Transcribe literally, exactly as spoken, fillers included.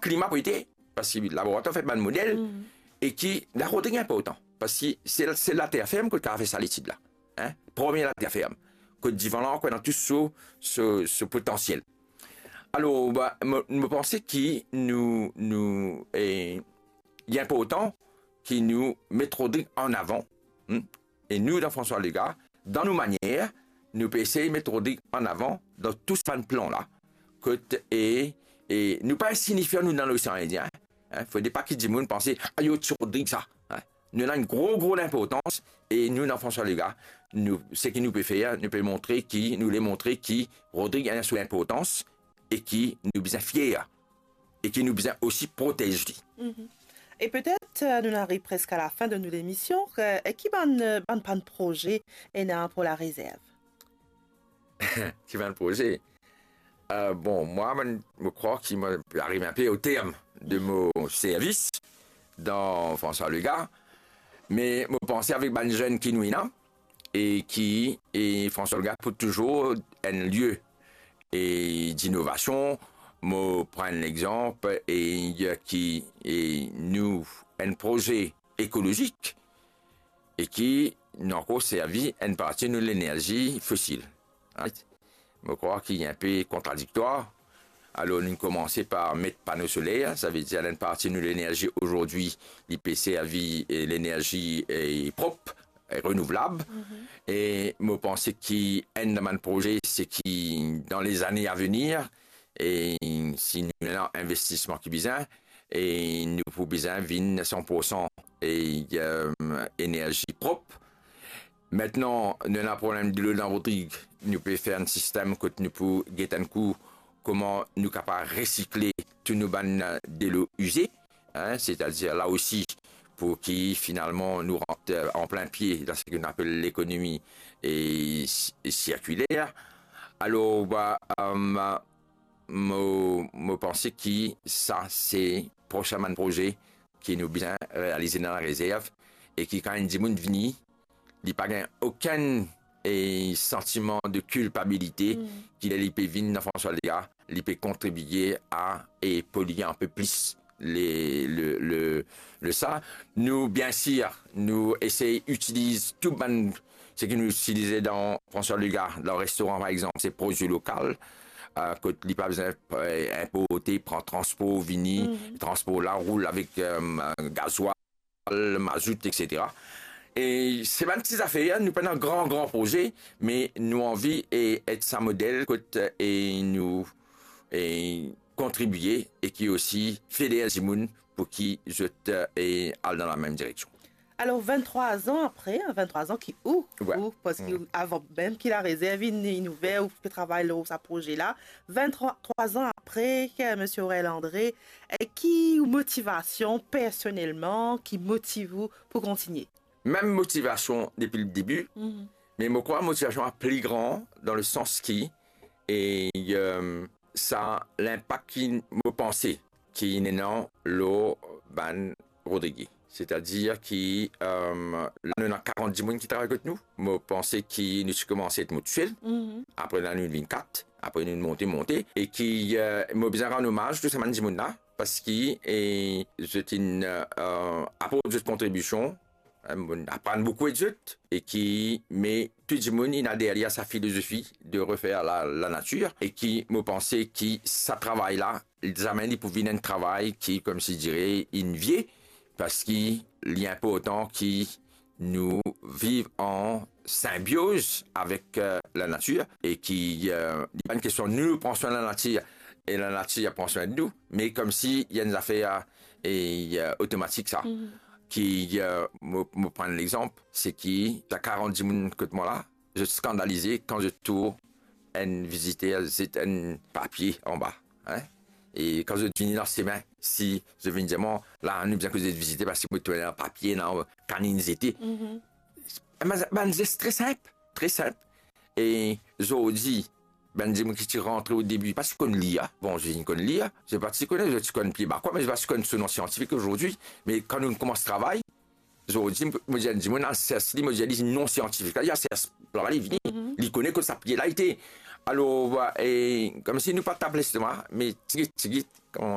klima pou ete, parski laboratwar fer bann model, e ki, la Rodrig inportan, parski se, se later ferm kot kapav fer sa letid la. Hein? Premie later ferm. Kot divan la ankor ena tou so, so, so potansiel. Alor, ba, mo, mo panse ki nou, nou, e, li inportan ki nou met Rodrig an avan, hmm? E nou, dan François Legaard, dan nou manier, nou pe esey met Rodrig an avan dan tou sa bann plan la. Kot, e, e nou pa insignifian, nou, dan Losean Indien, hein? Fode pa ki dimoun panse, "Ah, yo ti Rodrig sa." Hein? Nou ena enn gro, gro linportans, e nou, dan François Legaard, nou, seki nou pe fer, nou pe montre ki, nou le montre ki Rodrig ena so linportans, e ki nou bizin fier, e ki nou bizin osi protez li. Mhm. E petet, euh, nou ariv preske a lafin de nou lemision. Euh, e ki bann, euh, bann, bann proze ena pou larezerv? Ki bann proze? Euh, bon, mwa, mo, mo krwar ki mo ariv inpe o term de mo servis dan François Legaard, me mo panse avek bann zenn ki nou ena, e ki, e François Legaard pou touzour enn lie, e, dinovasion. Mo pran enn lexanp, e, ki, e, nou, enn proze ekolozik, e ki nou ankor servi enn parti nou lenerzi fosil. Right? Mo krwar ki inpe kontradiktwar. Alor, nou komanse par met pano soler, savedir enn parti nou lenerzi azordi, li pe servi, e, lenerzi, e, prop, e, renouvlab. Mhm. E mo panse ki enn dan bann proze, se ki dan lezane avenir, e si nou ena investisman ki bizin, e nou pou bizin vinn san pour san, e, em, enerzi prop. Aster, nou ena problem delo dan Rodrig, nou pe fer enn sistem kot nou pou get enn kou kouma nou kapav resikle tou nou bann, eh, delo ize, hein, setadir la osi pou ki finalman nou rant, eh, an plin pie dan seki nou apel lekonomi, eh, si-, sirkiler. Alor, ba, em, mo, mo panse ki sa se prosin bann proze ki nou bizin realize dan larezerv e ki kan enn dimoun vini, li pa gagn okenn, eh, santiman de kilpabilite, mm, ki ler li pe vinn dan François Legaard, li pe kontribie a, eh, polye inpe plis le, le, le, le sa. Nou, biensir, nou esey itiliz tou bann seki nou itilize dan François Legaard, dan restoran par exanp, se prodwi lokal, eh, kot li pa bizin, eh, inporte, pran transpor, vini, mm, transpor la, roul avek, eh, gazwal, mazout, et cetera. E se bann ti zafer, nou pena gran, gran proze, me nou anvi, eh, et sa model kot, eh, nou, eh, kontribie e ki osi federe dimoun pou ki zot, eh, al dan lamem direksion. Alor, vinn-trwa an apre, hein, vinn-trwa an ki ou, ouais, ou, parski, mm, avan mem ki larezerv inn, inn ouver, ou pe travay lor sa proze la, vinn-trwa an apre, eh, Misie Aurel André, eh, ki motivasion personelman ki motiv ou pou kontigne? Mem motivasion depi le debi, mhm, me mo krwar motivasion la pli gran dan le sans ki, eh, eh, sa linpak ki mo panse ki ena lor bann Rodrigie. Setadir ki, eh, la nou ena karant dimoun ki travay kot nou. Mo panse ki nou ti koumans et mo tousel. Mhm. Apre la nou vinn kat. Apre nou monte, monte. E ki, eh, mo bizin rann omaz tou sa bann dimoun la. Parski, eh, zot inn, eh, aport zot kontribision, eh, mo aprann boukou et zot, e ki, me tou dimoun inn ader li a sa filozofi de refer la, lanatir, e ki, mo panse ki sa travay la, zame li pou vinn enn travay ki, koumsi dire, inn vie, parski li inportan ki nou viv an sinbioz avek, eh, lanatir, e ki, eh, li pa enn kestion nou pran swin lanatir e lanatir pran swin nou, me koumsi ena enn zafer, eh, otomatik sa. Mhm. Ki, eh, mo, mo pran lexanp, se ki sa karant dimoun kot mwa la, zot skandalize kan zot trouv enn viziter zet enn papie anba, hein? E kan zot vini dan semin, si zot vinn dir mwa, "La, nou bizin koz zet viziter parski mo trouv enn papie la, kanin zete." Mhm. Bann, bann zes tre sinp, tre sinp. E zordi, bann dimoun ki ti rantre o debi, pa ti konn lir, bon, zot inn konn lir, zot pa ti konn, zot ti konn pie bakwa, me zot pa ti konn so non siantifik zordi. Me kan nou koumans travay, zordi, mo dir enn dimoun, al sers li, mo dir li non siantifik la, li al sers la, li vini, mhm, li kone kot sa pie la ete. Alor, e, koumsi nou pa tap lestoma, me tigit, tigit,